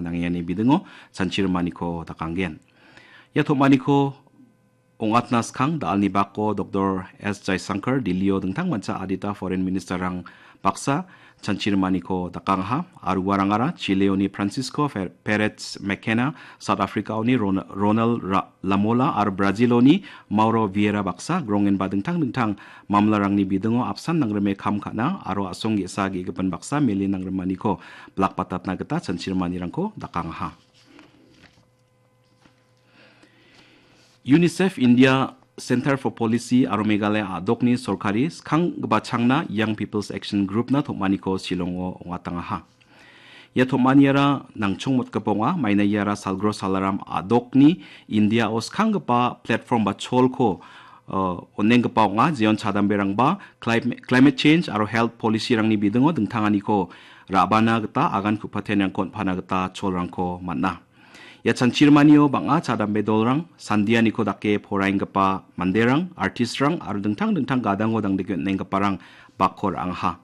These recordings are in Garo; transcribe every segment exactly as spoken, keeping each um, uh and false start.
nangani bidingo chanchirimaniko dakanggen. Ia tom·aniko ong·atna skang da·alni bako Doktor S Jaisankar Delhio dingtangmancha adita foreign ministerrang baksa chanchirimaniko dakangaha. Aro uarangara Chileoni Francisco Fer-, Perez Mekena, South Africaoni Ron-, Ronald Ra-, Lamola, aro Braziloni Mauro Vieira baksa grongenba dingtang dingtang mamlarangni bidingo apsan nangrime kam ka·na aro a·song ge·sa ge·gipin baksa mele nangrimaniko bilakbatatna gita chanchirimanirangko dakangaha. UNICEF India Center for Policy aro Meghalaya a·dokni sorkari skang gibachangna Young People's Action Group-na tom·aniko Shillongo ong·atangaha. Ia tom·aniara nangchongmotgipa ong·a, maina iara Salgro Salaram a·dokni Indiao skanggipa platform ba cholko, uh, on·enggipa ong·a, jeon chadamberangba clim-, climate change aro health policy-rangni bidingo dingtanganiko ra·bana gita agan ku·patenrangko on·pana gita cholrangko man·a. Ia chanchirimanio bang·a chadambe dolrang, sandianiko dake poraienggipa manderang, artistrang aro dingtang dingtang gadango dangdike on·enggiparang bakko ra·angaha.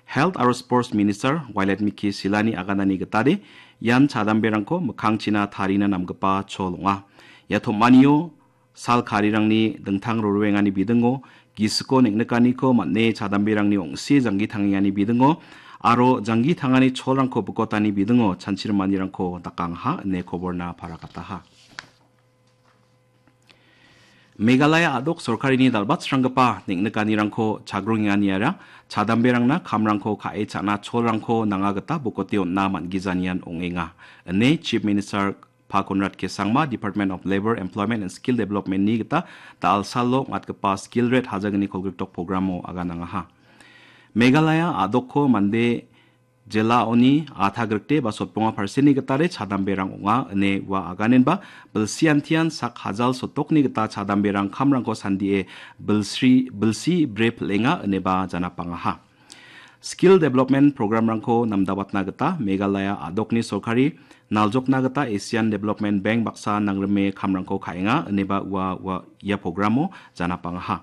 Health aro Sports Minister Wailadmiki Silani aganani gitade ian chadamberangko mikkangchina tarina namgipa chol ong·a. Ia tom·anio sal karirangni dingtang rorwengani bidingo, gisiko neng·nikaniko man·e chadamberangni ong·si janggi tangengani bidingo, aro janggi tangani cholrangko bikotani bidingo chanchirimanirangko dakangaha ine koborna paragataha. Meghalaya a·dok sorkarini dal·batsranggipa neng·nikanirangko chagrongenganiara chadamberangna kamrangko ka·e cha·na cholrangko nanga gita bokote on·na man·gijanian ong·enga, ine Chief Minister Pa Conrad K Sangma, Department of Labour, Employment and Skill Development-ni gita da·alsalo ong·atgipa Skill Red hajalgni kolgrikdok programo aganangaha. Meghalaya a·dokko mande jelaoni atha grikde ba sotbonga persenni gitade chadamberang ong·a ine ua aganenba bilsiantian sak hajal sotokni gita chadamberang kamrangko sandie bilsri-, bilsi bre pil·enga ineba janapangaha. Skill Development Programrangko namdabatna gita Meghalaya a·dokni sorkari naljokna gita Asian Development Bank baksa nangrime kamrangko ka·enga ineba ua, ua ia programo janapangaha.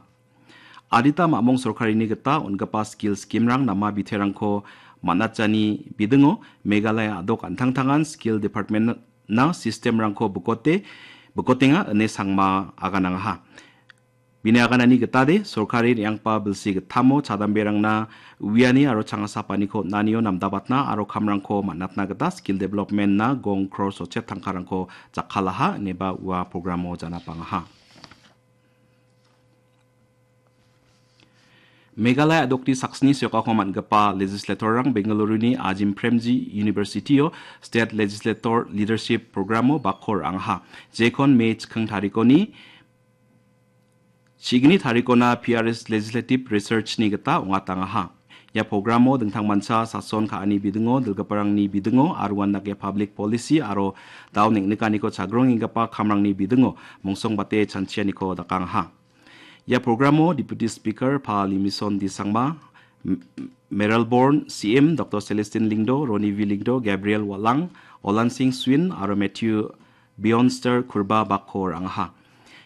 Adita mamong sorkarini gita on·gipa skill scheme-rang nama biterangko man·atjani bidingo Meghalaya a·dok an·tangtangan Skill Department-na system-rangko bikote, bikotenga ine Sangma aganangaha. Bini aganani gitade, sorkari re·anggipa bilsi gittamo chadamberangna uiani aro changasapaniko on·anio namdabatna aro kamrangko man·atna gita skill development-na gong crore sotchet tangkarangko jakkalaha ineba ua programo janapangaha. Meghalaya a·dokni saksni sokako man·gipa legislator-rang Bengaluru-ni Azim Premji University-o State Legislator Leadership Programo bakko ra·angaha. Jekon May chikking tarikoni Chigni tarikona P R S Legislative Research-ni gita ong·atangaha. Ia programo dingtangmancha sason ka·ani bidingo, dilgiparangni bidingo, aro uandake public policy aro dao neng·nikaniko chagrongenggipa kamrangni bidingo mongsongbate chanchianiko dakangaha. Ia programo Deputy Speaker Pa Limison D Sangma, M-, Mayralborn C M Doktor Celestine Lyngdoh, Ronnie V Lyngdoh, Gabriel Wahlang, Olan Singh Swin aro Matthew Bionster Kurba bakko ra·angaha.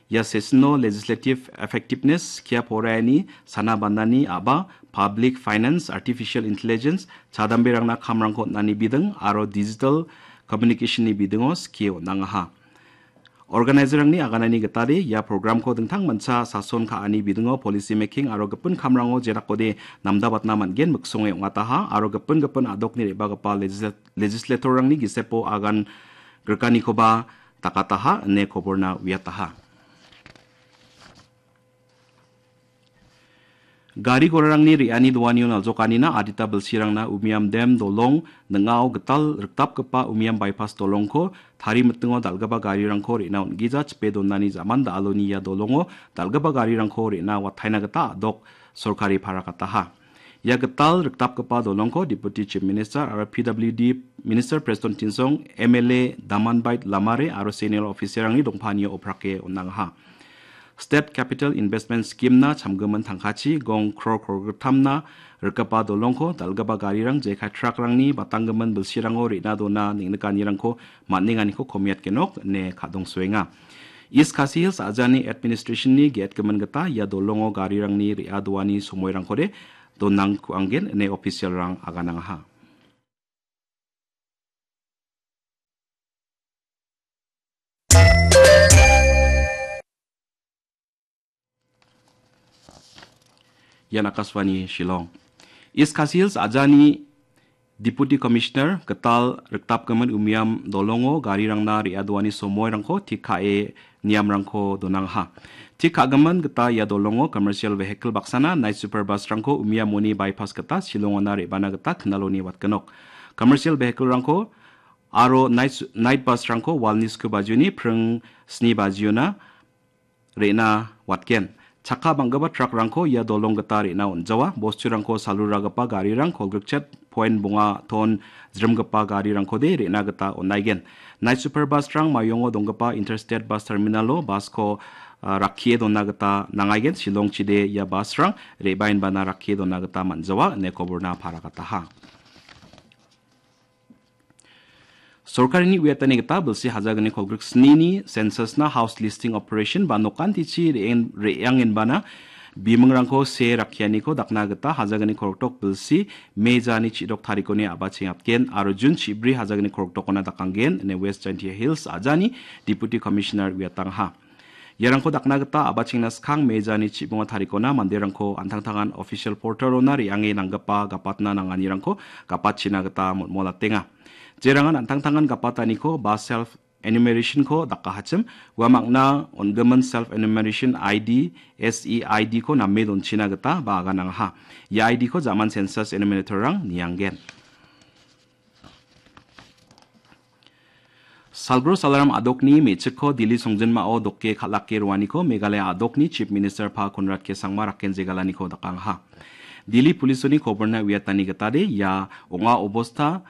Ia session-o Legislative Effectiveness, skia poraiani, sana banani a·ba, Public Finance, Artificial Intelligence, chadamberangna kamrangko on·ani biding aro Digital Communication-ni bidingo skie on·angaha. Organizer-rangni aganani gitade ia programko dingtangmancha sason ka·ani bidingo policy making aro gipin kamrango jerakode namdabatna man·gen miksonge ong·ataha aro gipin gipin a·dokni re·bagipa legisla-, legislator-rangni gisepo agan grikanikoba dakataha ine koborna uiataha. Gari gorarangni re·ani doanio naljokanina adita bilsirangna Umiam Dam dolong ning·ao gital rikdapgipa Umiam Bypass dolongko tari mitingo dal·gipa garirangko re·na on·gija chipe donani ja·man da·aloni ia dolongo dal·gipa garirangko re·na wataina gita a·dok sorkari parakataha. Ia gital rikdapgipa dolongko Deputy Chief Minister aro P W D Minister Prestone Tynsong, M L A Damanbait Lamare aro senior officer-rangni dongpanio oprake on·angaha. State Capital Investment Scheme-na chamgimin tangkachi gong kror krorgittamna rikgipa dolongko dal·gipa garirang jekai truck-rangni batanggimin bilsirango re·na dona neng·nikanirangko man·enganiko komiatgenok ine kadongsoenga. East Khasi Hills ajani administration-ni ge·etgimin gita ia dolongo garirangni re·adoani somoirangkode donang ku·anggen ine official-rang aganangaha. Ian Akashvani Shillong. East Khasi Hills ajani Deputy Commissioner gital riktapgimin umiam dolongo garirangna re·adoani somoirangko tik ka·e niamrangko donangaha. Tik ka·gimin gita ia dolongo commercial vehicle baksana night super bus-rangko umiamoni bypass gita Shillongona re·bana gita knaloni watgenok. Commercial vehicle-rangko aro night, night bus-rangko walni sku bajioni pring sni bajiona re·na watgen. Chakka bang·gipa truck-rangko ia dolong gita re·na on·jawa. Bosturangko saluragipa garirang kolgrikchet point bonga ton jrimgipa garirangkode re·na gita on·aigen. Night super bus-rang Mayongo donggipa Interstate Bus Terminal-o bus-ko, ah, rakkie dona gita nangaigen. Shillongchide ia bus-rang re·baenbana rakkie dona gita man·jawa ine koborna paragataha. Sorkarini uiatani gita bilsi hajagniko griksnini census-na house listing operation ba nokantichi re·eng-, re·angenbana bimingrangko see rakkianiko dakna gita hajagniko roktok bilsi Mejani chidok tarikoni a·bachengatgen aro Jun chibri hajagniko roktokona dakanggen ine West Jaintia Hills ajani Deputy Commissioner uiatangaha. Iarangko dakna gita a·bachengna skang Mejani chibonga tarikona manderangko an·tangtangan official portal-ona re·ange nanggipa gapatna nanganirangko gapatchina gita mol·molatenga. Jerangan an·tangtangan gapataniko ba self enumeration-ko dakahachim, uamangna on·gimin self enumeration I D, S E I D-ko name donchina gita ba aganangaha. Ia I D-ko jaman census enumerator-rang nianggen. Salgro Salaram a·dokni me·chikko Dili songjinmao doke kal·ake roaniko Meghalaya a·dokni Chief Minister Pa Conrad K Sangma rakken jegalaniko dakangaha. Dili Polisoni koborna uiatani gitade ia ong·a obosta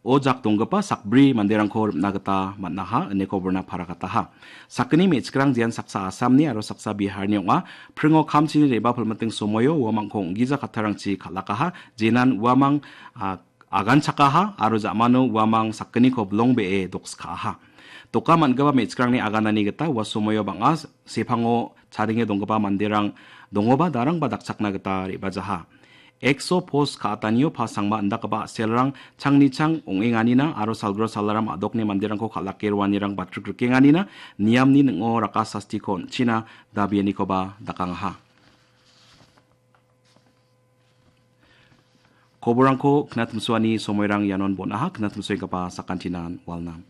o jak donggipa sakbri manderangko ripna gita man·aha, ine koborna paragataha. Sakgni me·chikrang jean saksa Assamni aro saksa Biharni ong·a. Pringo kamchini re·bapilmiting somoio uamangko ong·gija kattarangchi kal·akaha. Jenan uamang, a, aganchakaha aro ja·mano uamang sakgniko bilongbee dokska·aha. Doka man·gipa me·chikrangni aganani gita ua somoio bang·a sepango chadenge donggipa manderang dongoba darangba dakchakna gita re·bajaha. Exo Post ka·atanio Pa Sangma indakgipa a·selrang changni chang ong·enganina aro Salgro Salaram a·dokni manderangko kal·ake roanirang batrik rikenganina niamni ning·o raka sastiko on·china dabianikoba dakangaha. Koborangko knatimsoani somoirang ianon bon·aha, knatimsoenggipa sakantinan walna.